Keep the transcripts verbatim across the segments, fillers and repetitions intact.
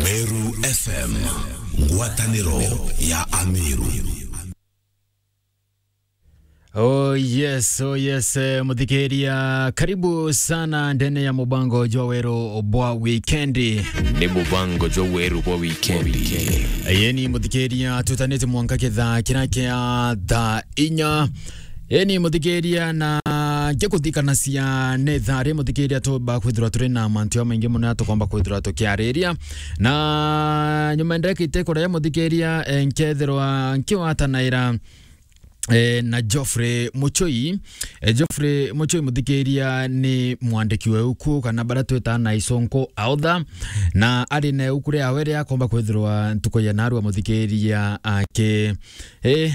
Meru F M, ngwataniro ya Ameru. Oh yes, oh yes, eh, muthikiria, karibu sana ndene ya mubango jwa weru bwa wikendi. Ni mubango jwa weru bwa wikendi. Yeni muthikiria, tutanite mwanka kithaa kiria kia thaa inya. Eni muthikiria, na ngikuthikanacia ni thaa ri muthikiria, tumba kwithirwa turi na mantu jamaingi mono ya tukomba kwithirwa tukiariria, na nyuma ndeka ite kuraya muthikiria, eh, nkethirwa nkiwatanaira, eh, na Geoffrey Muchoi. Eh, Geoffrey Muchoi muthikiria ni mwandiki wa iuku, kana bara twita na isonko author, na ari na iuku riawe ria akomba kwithirwa ntuku ya narua muthikiria aki, eh,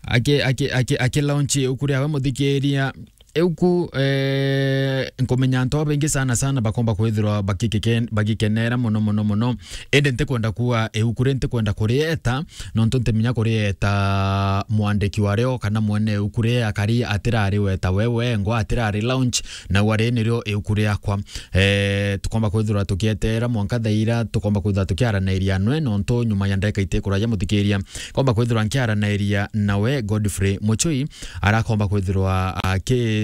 aki, aki, aki, aki launch iuku riawe muthikiria. Iuku, eh, nkumenya antu babaingi sana sana bakomba kwithirwa bakikike-, bagikenera mono, mono, mono. Indi ntikwenda kuuga iuku ri ntikwenda kurieta, nontu ntimenya kurieta mwandiki wario kana mwene iuku ri akari atirari weta we wengwa, atirari launch, na wari nirio iuku riakwa. Eh, tukomba kwithirwa tukieterera mwanka thaa ira tukomba kwithirwa tukiaranairia nwe, nontu nyuma ya ndeka ite kuraja muthikiria, komba kwithirwa nkiaranairia nawe Godfrey Muchoi, arakomba kwithirwa aki,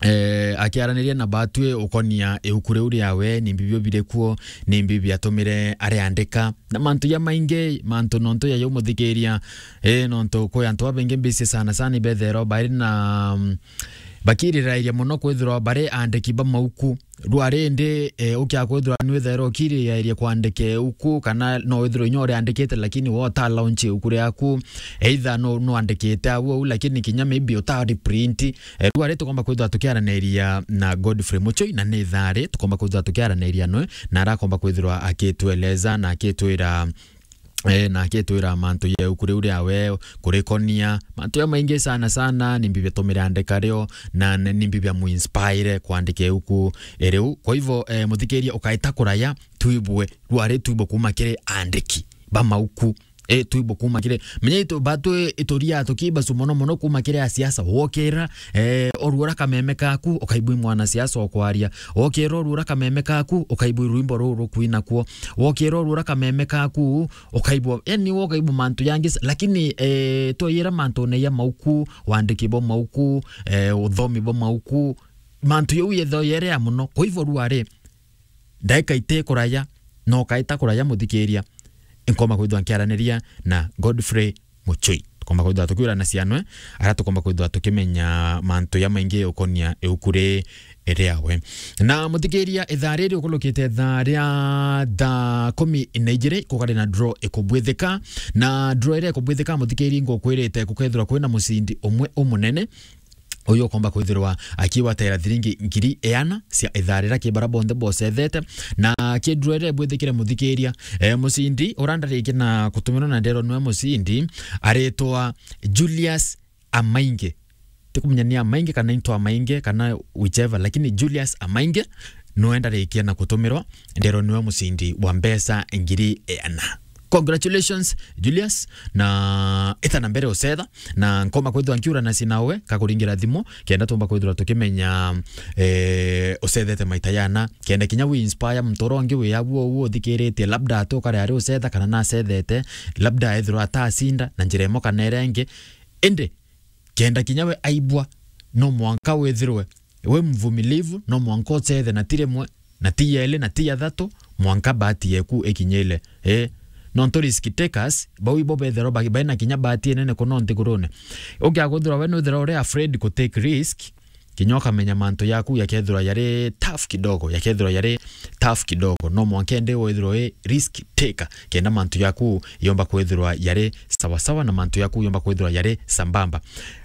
eh, akiaraniria na batwi ukonia iuku riu riawe, ni mbi bio biri kuo, ni mbi biatumire ariandika, na mantu jamaingi, mantu nontu ya jau muthikiria, eh, nontu kwi antu babaingi mbisi sana sana ibethero bari na, mm, bakirirairia mono kwithirwa bari andiki ba mauku. Rwari indi, eh, ukia kwithirwa nwithaira ukiriairie kwandika iuku, kana no withirwe inya uriandikite, lakini we uta launch iuku riaku, either no, nwandikite au au, lakini kinya maybe uta reprint. Eh, rwari tukomba kwithirwa tukiaraniria na Godfrey Muchoi, na ni thaa ri tukomba kwithirwa tukiaraniria nwe, na arakomba kwithirwa akitweleza na akitwira, eh, na akitwira mantu ya iuku riu riawe, kurikonia, mantu ya maingi sana sana, ni mbi biatumire andika rio, na ni, ni mbi biamuinspire kwandika iuku riu. Kwa hivyo, eh, muthikiria, ukaita kuraya, twibue, rwari twibue kuma kiri andiki ba mauku. Eh, twibue kuma kiri, menya itu, batu ituria tukibasu mono mono kuma kiri asiasa, wokira, eh, oruura kameme kaku, ukaibui mwanasiasa okwaria. Wokira oruura kameme kaku, ukaibui rwimbo ruru rukwina kuo. Wokira oruura kameme kaku, ukaibua, yani, wokaibua mantu yangi, lakini, eh, twoyira mantune ya mauku, wandiki bo mauku, eh, uthomi bo mauku, mantu yau yetho yerea mono. Kwa hivyo rwari, ndaika ite kuraya, no kaita kuraya muthikiria, nkoma kwithwa nkiaraniria na Godfrey Muchoi. Tukomba kwithwa tukiurana cianwe, ara tukomba kwithwa tukimenya mantu ya maingi ukonia iuku ri riawe. Na muthikiria, ithaa riri ukulukite ithaa ria thaa kumi na ijiri, kukari na draw ikubwithika. Na draw iria ikubwithika, muthikiria, ngukwirite gukethirwa kwina mucindi umwe umunene. Uyu ukomba kwithirwa akiwatera thiringi ngiri iana cia ithaa rira ki bara bonthe bocethete. Na ki draw iria ibwithikire muthikiria, eh, mucindi ura ndarikia na kutumirwa na nderwa niwe mucindi, aritwa Julius Amainge. Tikumenya ni Amainge kana into Amainge kana whichever, lakini Julius Amainge niwe ndarikia na kutumirwa, nderwa niwe mucindi wa mbeca ngiri iana. Congratulations, Julius, na ita na mbere ucetha, na nkoma kwithwa nkiurana cinawe kakuringira thimu, kenda tumba kwithirwa tukimenya, eh, ucethete maita yana, kenda kinya wi inspire muntu uria ungi wi aguo uguo uthikiritie, labda ati ukare ari ucetha kana nacethete, labda ethirwa atacinda na njira imwe kana iria ingi. Indi kenda kinya we aibwa, no mwanka withirwe wi mvumilivu, no mwanka ucethe, na ti rimwe, na ti yeli, na ti ya thatu, mwanka bahati yeku ikinyile. Eh, nontu risk takers, bau ibo bethirwa bagi-, baina kinya bahati inene kuno nthigurune. Ukia kwithirwa we nwithirwa uri afraid ku take risk, kinya ukamenya mantu yaku yakethirwa yari tough kidogo, yakethirwa yari tough kidogo. No mwanka indi withirwe wi risk taker, kenda mantu yaku yomba kwithirwa yari sawa sawa na mantu yaku yomba kwithirwa yari sambamba.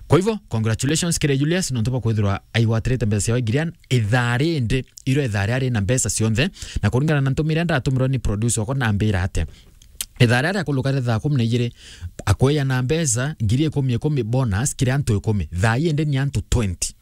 Kwa hivyo, congratulations kiri Julius, nontu bwa kwithirwa aigwatirite mbeca ciawe ngiri iana ithaa rindi, iro ithaa ria ri na mbeca cionthe, na kuringana na ntumire ndatumirwa ni producer wakwa nambira ati, ithaa ria riakuluka ri thaa kumi na ijiri, akweya na mbeca ngiri ikumi ikumi bonus kiri antu ikumi. Thaa ii indi ni antu twenty.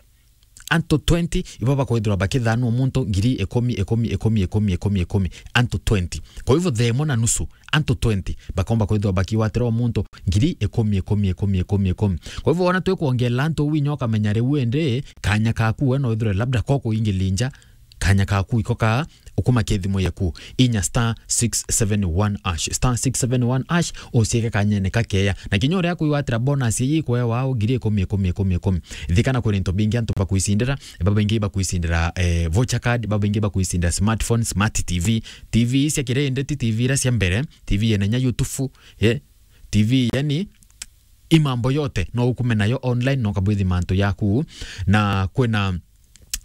Antu twenty ibo bakwithirwa bakithanwa muntu ngiri ikumi, ikumi, ikumi, ikumi, ikumi, ikumi. Antu twenty. Kwa hivyo, themo na nusu, antu twenty bakomba kwithirwa bakigwatira o muntu ngiri ikumi, ikumi, ikumi, ikumi, ikumi. Kwa hivyo, wona twikwongerera antu uu inya ukamenya riu indi kanya kaku we no withirwe labda ko kuingilinja, Kanya kaku iko ka, ukuma kithimo yeku, inya star six seven one hash, star six seven one hash, ucieke kanyene kakeya. Na kinya uria kwigwatira bonus ii ikwewa ngiri ikumi, ikumi, ikumi, ikumi. Thikana kwina into bingi antu bakwicindira, babaingi bakwicindira, eh, voucher card, babaingi bakwicindira smartphone, smart T V, T V cia kirindi, ti T V iria cia mbere, T V yena inya YouTube, eh, T V, yani, i mambo yote, no ukume nayo online, no ukabwithi mantu yaku, na kwina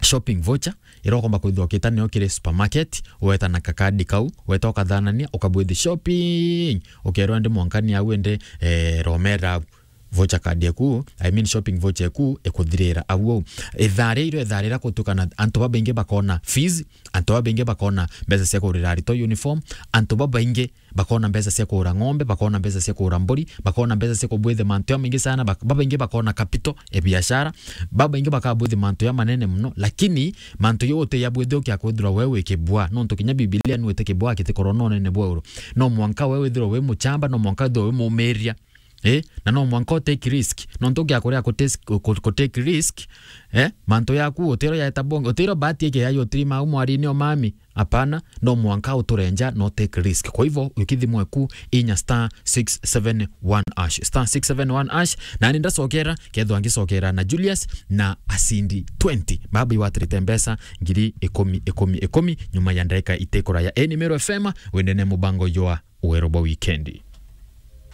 shopping voucher, iria ukomba kwithwa ukita nayo kiri supermarket, weta na kakadi kau, weta ukathanania, ukabwithi shopping, ukerwa ndi mwankani au ende, eh, romera au. Voucher card yaku, I mean shopping voucher yaku, ikuthirira au au. Ithaa ria iro, ithaa riria gutuika na antu babaingi bakona fees, antu babaingi bakona mbeca cia kugurira aritwa uniform, antu babaingi bakona mbeca cia kugura ng'ombe, bakona mbeca cia kugura mburi, bakona mbeca cia kubwithi mantu jamaingi sana, bak-, babaingi bakona capital e biashara, babaingi bakabwithi mantu jamanene muno, lakini mantu jau utijabwithi ukiakwithirwa we wi kibwa, nontu kinya Bibilia nwite kibwa gitikorwa na unene bwa iguru. No mwanka we withirwe wi muchamba, no mwanka withirwe wi mumiria. Eh, na no mwanka u take risk. Nontu ukiakuria ku tes-, ku, ku take risk, eh, mantu yaku utiro yaeta bonge, utiro bahati ike yayo utirima au mwarini o mami. Hapana, no mwanka uturenja, no take risk. Kwa hivyo, ukithimwe ku inya star six seven one hash. Star six seven one hash, na ni ndacokera, kethwa ngicokera na Julius na acindi twenty. Baba iwatirite mbeca ngiri ikumi, ikumi, ikumi, nyuma ya ndagika itikuraya. Eni Meru F M, wendene mubango jwa Wero bwa Wikendi.